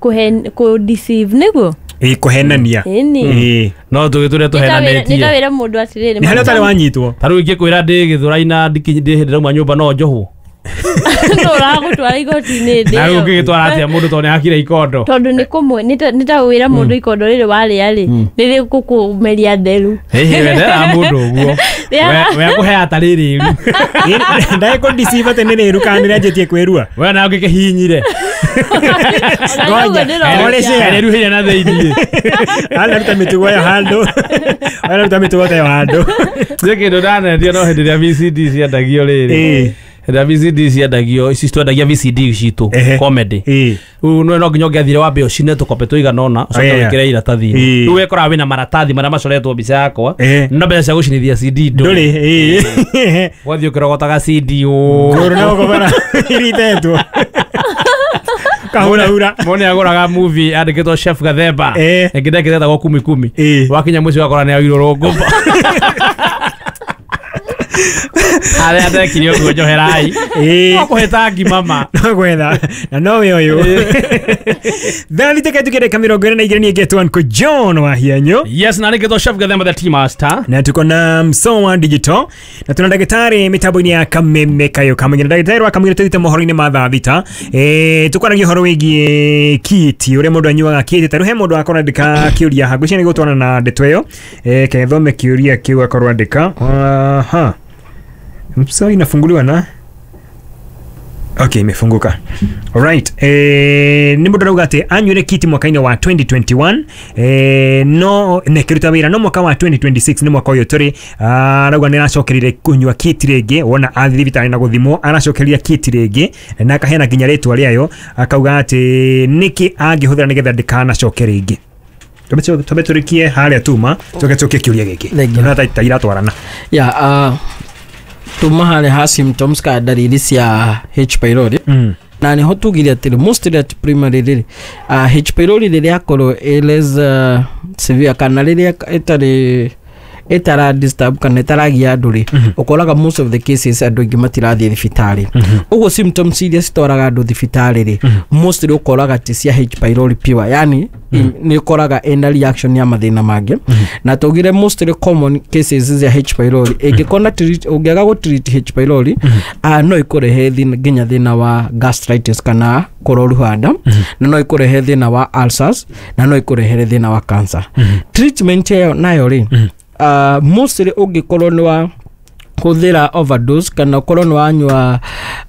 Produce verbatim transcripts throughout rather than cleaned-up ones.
Kũhe kũ deceive nĩguo. Ĩ, kũhenania. Ĩni. Ĩ. No tũgĩ tũrĩa tũhenanĩtie. Nĩ ta wĩra mũndũ atĩrĩrĩ. Nĩ harĩa ũtarĩ wanyitwo. Ta rĩu ingĩkwĩra ndĩ Gĩthũrai na ndĩ hĩndĩ ndauma nyũmba no njohwo. No ũragũtwara igoti-inĩ hĩndĩ Na rĩu ĩyo. ũngĩgĩtwara atĩa mũndũ tondũ nĩhakire ikondo? Tondũ nĩ kũmwe nĩ ta wĩra mũndũ ikondo rĩrĩ warĩa rĩ nĩ rĩgũkũmeria nderu. Hĩhĩ, we nderaga mũndũ ũguo. We akũheaga ta rĩrĩ rĩru. Ndagĩ kũ deceive atĩ nĩ rĩru kana nĩ rĩanjĩtie kwĩrua. We nawe ũngĩkĩhihinyire. Ngoja, Rĩruhĩire na thĩiniĩ. Anaruta mĩtugo ĩyo handũ. Anaruta mĩtugo ta ĩyo handũ. Nĩ kĩndũ ndanendio no hĩndĩ ĩrĩa V C D ciendagio rĩrĩ. Hĩndĩ ĩrĩa V C D ciendagio, ici twendagia V C D citũ, comedy. Rĩu no nginya ũngĩathire wambe ũcine tũkobe tũigana ũna, ũcoke wĩkĩre iratathi-inĩ. Rĩu wekoraga wĩna maratathi marĩa macoretwo mbica yakwa, no mbeca cia gũcinithia C D ndũrĩ. Wathiĩ ũkĩrogotaga C D ũũ. Ngũrũ no ũkobara iritetwo. Kahura hura. Mũndũ nĩagũraga movie yandĩkĩtwo Chef Gathemba. Ĩngĩ ndekĩte ĩtagwo Kumi Kumi. Wakinya mũciĩ ũgakora nĩagirwo rũngũmba. Arĩa ndekire ũguo njoherai. No kũhĩta ngima ma. No gwetha. Na nowe ũyũ. Thaa thita katukĩre dakika mĩrongo ĩna na igĩrĩ niĩ ngetwo John Wahianyũ. Yes, na nĩngetwo Chef Gathemba the Tea Master. Na tuko na Msowa Digital. Na tuna ndagĩtarĩ mĩtambo-inĩ ya Kameme Kayo Kamũnyĩ. Na ndagĩtarĩ wa Kamũnyĩ tũthiĩte mohoro-inĩ ma thaa thita. Eh, tũkwaragia ũhoro wĩgiĩ kiti, ũrĩa mũndũ anyuaga kiti. Ta rĩu he mũndũ akorwo andĩka kĩũria haha. Ngwĩciria nĩgũtwarana na ndeto ĩyo. Eh, kethome kĩũria kĩu akorwo andĩka. Aha. Mso inafunguliwa na okay, imefunguka. Alright. Eh, ni mũndũ arauga atĩ anyuire kiti mwaka-inĩ wa twenty twenty-one. Eh, no nekĩruta wĩra no mwaka wa twenty twenty-six nĩ mwaka ũyũ tũrĩ. Arauga nĩ aracokerire kũnyua kiti rĩngĩ, wona athiĩ thibitarĩ na gũthimwo, aracokeria kiti rĩngĩ na akaheana nginya rĩtwa rĩayo, akauga atĩ nĩkĩ angĩhũthĩra nĩgetha ndĩkanacoke rĩngĩ. Twambe tũrĩkie harĩa tuma, tũke tũke kĩũria gĩkĩ. Na ta iratwarana. Yeah, uh, tuma harĩa ha symptoms ka ndariri cia H pylori. Mm. Na nĩho tugire atĩrĩ mostly at primary rĩrĩ uh, H pylori rĩrĩa akorwo ĩ less uh, severe kana rĩrĩa ĩtarĩ ĩtara disturb kana ĩtaragia andũ rĩ, ũkoraga most of the cases andũ aingĩ matirathiĩ thibitarĩ. Ũguo symptoms iria citwaraga andũ thibitarĩ rĩ, mostly ũkoraga ti cia H pylori pure, yani nĩ ũkoraga ĩna reaction ya mathĩna mangĩ. Na tugire mostly common cases cia H pylori ĩngĩkorwo ũngĩaga gũ treat H pylori uh, no ĩkũrehe nginya thĩna wa gastritis kana kũroruha nda, na no ĩkũrehe thĩna wa ulcers, na no ĩkũrehere thĩna wa cancer. Treatment ĩyo nayo rĩ, Uh, mostly ũngĩkorwo nĩ wa hũthĩra overdose kana ũkorwo nĩ wanyua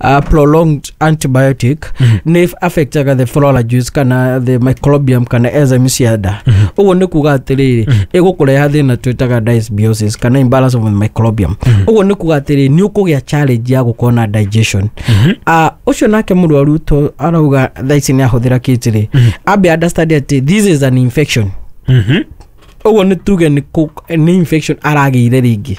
uh, prolonged antibiotic, nĩ affectaga the flora juice kana the microbiome kana enzyme cia nda. Ũguo nĩ kuga atĩrĩrĩ, ĩgũkũreha thĩna twĩtaga dysbiosis kana imbalance of the microbiome. Ũguo nĩ kuga atĩrĩrĩ, nĩ ũkũgĩa challenge ya gũkorwo na digestion. Uh, ũcio nake mũrwaru to arauga thaa ici nĩ ahũthĩra kiti rĩ, ambe understand atĩ this is an infection. Ũguo nĩ tuge nĩ nĩ infection aragĩire rĩngĩ.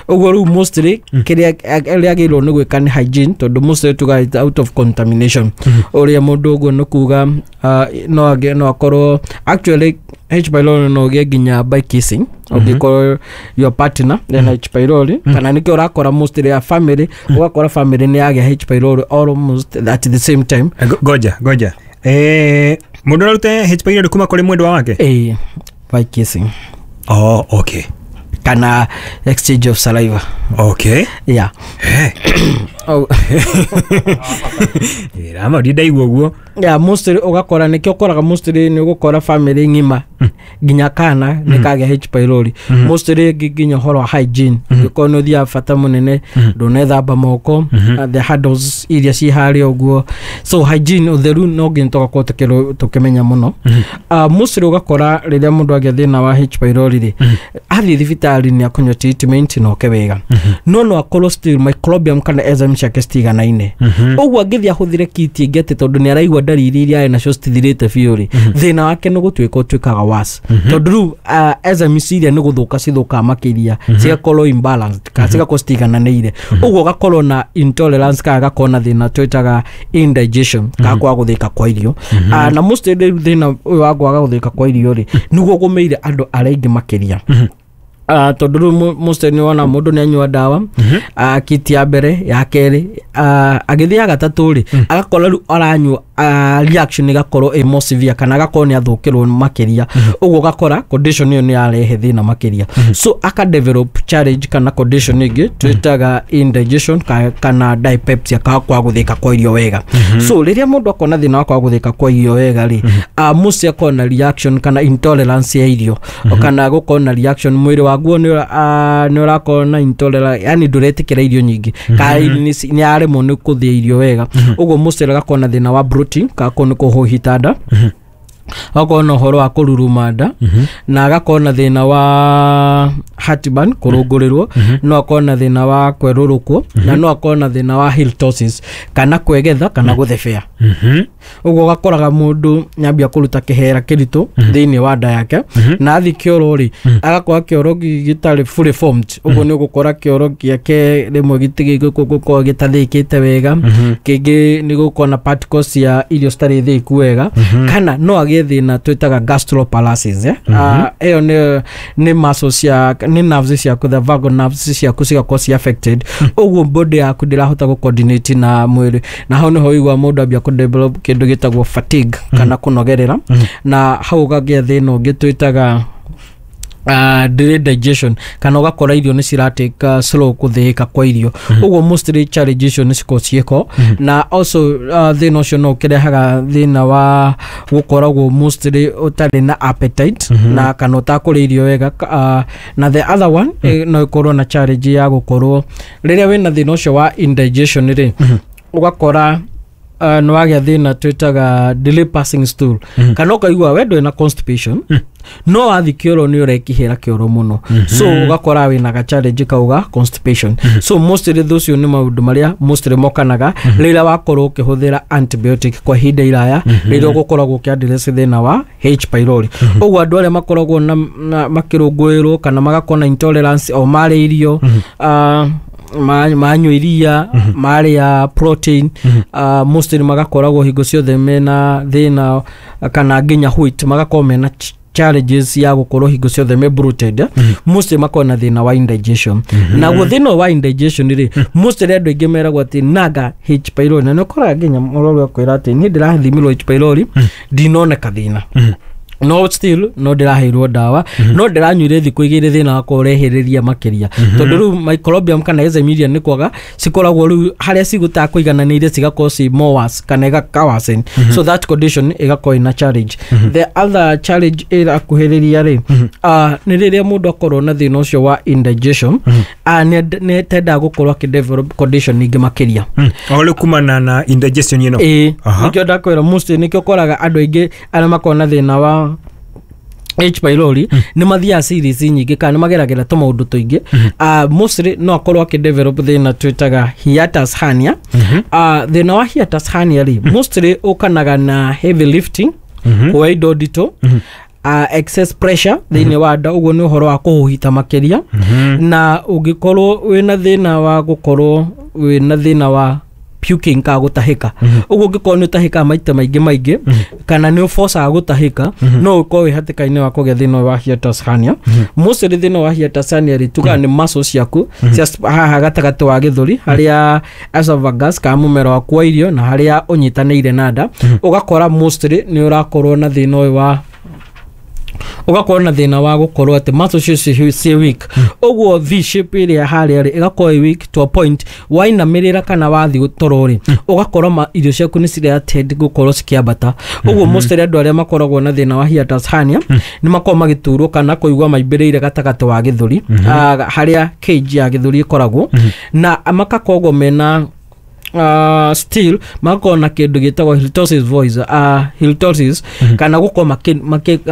Ũguo rĩu mostly kĩrĩa agĩrĩirwo nĩ gwĩka nĩ hygiene, tondũ mostly tuga out of contamination. Ũrĩa mũndũ ũguo nĩ kuga no agĩ no akorwo actually H pylori no ũgĩe nginya by kissing, ũngĩkorwo your partner ena H pylori, kana nĩkĩo ũrakora mostly ya family, ũgakora family nĩ yagĩa H pylori almost at the same time. Ngoja ngoja, eh, mũndũ arute H pylori kuma kũrĩ mwendwa wake? Eh, by kissing. Oh, okay. Kana exchange of saliva. Okay. Yeah. Hey. Oh. Rama ndindaigua ũguo. Yeah, mostly ũgakora nĩkĩo ũkoraga mostly nĩ ũgũkora family ng'ima nginya kana nĩ kagĩa H pylori. Mostly nginya ũhoro wa hygiene, ũngĩkorwo nĩ ũthiaga bata mũnene ndũnethamba moko, the handles iria ci harĩa ũguo. So hygiene, ũtheru no nginya tũgakorwo tũkĩmenya mũno. Mostly ũgakora rĩrĩa mũndũ agĩa thĩna wa H pylori rĩ, athiĩ thibitarĩ nĩ akũnyua treatment na oke wega, no no akorwo still microbiome kana enzyme ciake citiganaine. Ũguo angĩthiĩ ahũthĩre kiti ĩngĩ atĩ tondũ nĩ araigua ndariri iria arĩ nacio citithirĩte biũ rĩ, thĩna wake nĩ gũtuĩka ũtuĩkaga worse, tondũ rĩu enzymes iria nĩ gũthũka cithũkaga makĩria, cigakorwo imbalanced kana cigakorwo citigananĩire. Ũguo ũgakorwo na intolerance kana agakorwo na thĩna twĩtaga indigestion kana kwaga gũthĩka kwa irio. Na mostly rĩu thĩna ũyũ wa kwaga gũthĩka kwa irio rĩ, nĩguo ũgũmĩire andũ arĩa aingĩ makĩria. Uh, tondu riu mostly ni wona mundu ni anyua ndawa mm -hmm. uh, kiti ya mbere ya keri uh, agithii ya gatatu ri mm. agakora riu aranyua uh, reaction igakorwo ĩ more severe kana agakorwo ni athukirwo makiria uguo ugakora condition iyo ni yarehe thina makiria mm -hmm. So aka develop challenge kana condition ingi twitaga indigestion ka, kana dyspepsia ka kwa guthika kwa irio wega mm -hmm. So riria mundu akona thina wa kwa guthika kwa irio wega ri mm -hmm. uh, mostly akona reaction kana intolerance ya irio mm -hmm. kana gukona reaction mwiri waguo ni ni urakorwo na intolerance yani nduretikira irio nyingi mm -hmm. ka ni aremwo ni kuthia irio wega uguo mostly agakona thina wa bloating ka ko kuhuhita nda agakorwo na uhoro wa kururuma nda na agakorwo na thina wa heartburn kurungurirwo no akorwo na thina wa kwerurukwo na no akorwo na thina wa halitosis kana kwegetha kana guthebea. Uguo ugakoraga mundu nyambia kuruta kihera kiritu thiini wa nda yake na athi kioro ri agakora kioro gitari fully formed uguo ni ugukora kioro giake rimwe gitigigukorwo gitathikite wega kingi ni gukorwo na particles ya irio citari thiku wega kana no agie thina twitaga gastroparalysis eh iyo ni ni muscles cia ni nerves ciaku the vagal nerves ciaku cigakorwo ci affected uguo body yaku ndirahota gu coordinate na mwiri na hau niho igua mundu ambia ku develop kindu gitagwo fatigue kana kunogerera na hau ukagia thina ungi twitaga Uh, delayed digestion kana ugakora irio ni ciratake slow kuthika kwa irio uguo mostly challenges icio ni cikoragwo ciĩko na also uh, thina ucio no ukirehaga thina wa gukoragwo mostly utari na appetite na kana utakuria irio wega uh, na the other one mm -hmm. no ikorwo na challenge ya gukorwo riria wina thina ucio wa indigestion ri ugakora Uh, no wagĩa thĩna twĩtaga delay passing stool mm -hmm. kana ũkaigua we ndwĩ na constipation mm -hmm. no wathi kĩoro nĩ ũrekihĩra kĩoro mũno mm -hmm. So ũgakora wĩna ga challenge kauga constipation mm -hmm. So mostly thũcio nĩ maũndũ marĩa mostly mokanaga mm -hmm. rĩrĩa wakorwo ũkĩhũthĩra antibiotic kwa ihinda iraya mm -hmm. rĩrĩa ũgũkoragwo ũkĩaddress thĩna wa H pylori mm -hmm. Ũguo andũ arĩa makoragwo na, na makĩrũngũĩrwo kana magakorwo na intolerance o marĩ irio mm -hmm. uh, manyua iria marĩa protein uh, mostly magakoragwo hingo ciothe mena thĩna kana nginya wheat magakorwo mena challenges ya gukorwo hingo ciothe me bloated mm -hmm. Mostly makorwo na thĩna wa indigestion mm -hmm. Na guo thĩna wa indigestion rĩ mm -hmm. Mostly andũ aingĩ meragwo atĩ naga H pylori na nĩ ũkoraga nginya mũrwaru akwĩra atĩ niĩ ndĩrathimirwo H pylori mm -hmm. ndinoneka thĩna mm -hmm. No still no ndiraheirwo ndawa mm -hmm. no ndiranyuire thikũ igĩrĩ thĩna wakwa ũrehĩrĩria makĩria mm -hmm. Tondũ rĩu microbiome kana enzyme iria nĩ kwaga cikoragwo rĩu harĩa cigũtaa kũigananĩire cigakorwo ci more worse kana igakawasen mm -hmm. So that condition ĩgakorwo ĩna challenge mm -hmm. The other challenge ĩrakuhĩrĩria rĩ mm -hmm. uh, nĩ rĩrĩa mũndũ akorwo na thĩna ũcio wa indigestion mm -hmm. uh, nĩ tendaga gũkorwo akĩ condition ingĩ makĩria mm. O rĩu kumana na indigestion ĩno ĩĩ nĩkĩo ndakwĩra mostly nĩkĩo ũkoraga andũ aingĩ arĩa makoragwo na thĩna wa H pylori mm. nĩ mathiaga series nyingĩ kana nĩ mageragĩra tũmaũndũ tũingĩ mm -hmm. uh, mostly no akorwo akĩ develop thĩna twĩtaga hiatus hernia mm -hmm. uh, thĩna wa hiatus hernia rĩ mm -hmm. mostly ũkanaga na heavy lifting mm -hmm. kuoya indo nditũ mm -hmm. uh, excess pressure thĩinĩ wa nda ũguo nĩ ũhoro wa kũhuhita makĩria mm -hmm. na ũngĩkorwo wĩna thĩna wa gũkorwo wĩna thĩna wa puking ka gutahika uguo ngikorwo ni utahika maita maingi maingi kana ni ufocaga gutahika no ukorwo wi hatikaini wa kugia thina wa hiatus hernia. Mostly thina wa hiatus hernia ri tuga ni muscles ciaku cia haha gatagati wa githuri haria esophagus ka mumero waku wa irio na haria unyitaniire na nda, ugakora mostly ni urakorwo na thina uyu wa ugakorwo na thina wa gukorwo ati muscles icio ci weak, uguo V shape iria haria ri igakorwo weak to a point wainamirira kana wathi toro ri ugakorwo irio ciaku ni ciria tend gukorwo cikiambata. Uguo mostly andu aria makoragwo na thina wa hiatus hernia ni makoragwo magiturwo kana kuigua maimbiriire gatagati wa githuri haria cage ya githuri ikoragwo, na makakorwo mena Uh, still magakorwo na kindu gitagwo halitosis voice uh, halitosis mm -hmm. kana gukorwo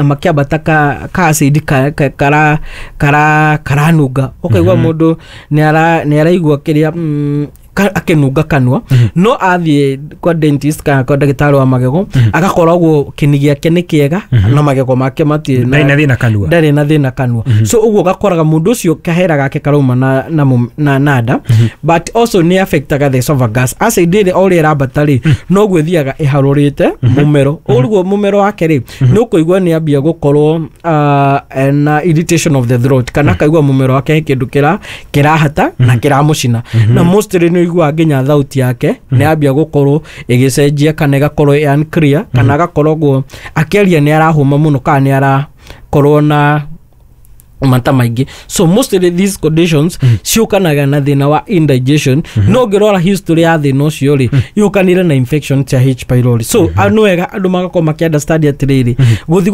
makiambata ka ka acid ka, ka, kara kara karanunga ukaigua mm -hmm. mundu ni ara ni araigua kiria mm, ka- akĩnunga kanua, no athiĩ kwa dentist kana kwa ndagĩtarĩ wa magego agakoragwo kĩni gĩake nĩ kĩega na magego make matirĩ Ndarĩ na thĩna kanua. Ndarĩ na thĩna kanua. So ũguo ũgakoraga mũndũ ũcio kahera gake karauma na, na, mũm- na, na nda, but also nĩ affectaga the esophagus. Acid ĩrĩ o ũrĩa ĩrambata rĩ, noguo ĩthiaga ĩharũrĩte mũmero. Ũguo mũmero wake rĩ, nĩ ũkũigua nĩ ambia gũkorwo uh, na irritation of the throat, kana akaigua mũmero wake he kĩndũ kĩra kĩrahata na kĩramũcina, na mostly nĩ ũiguaga nginya thauti yake nĩ ambia gũkorwo ĩgĩcenjia kana ĩgakorwo ĩ unclear, kana agakorwo akĩaria nĩ arahũma mũno kana nĩ arakorwo na mata maingĩ. So mostly these conditions ciũkanaga na thĩna wa indigestion, no ũngĩrora history ya thĩna ũcio rĩ, yũkanire na infection cia H pylori. So nĩ wega andũ magakorwo makĩ understand atĩrĩrĩ, gũthiĩ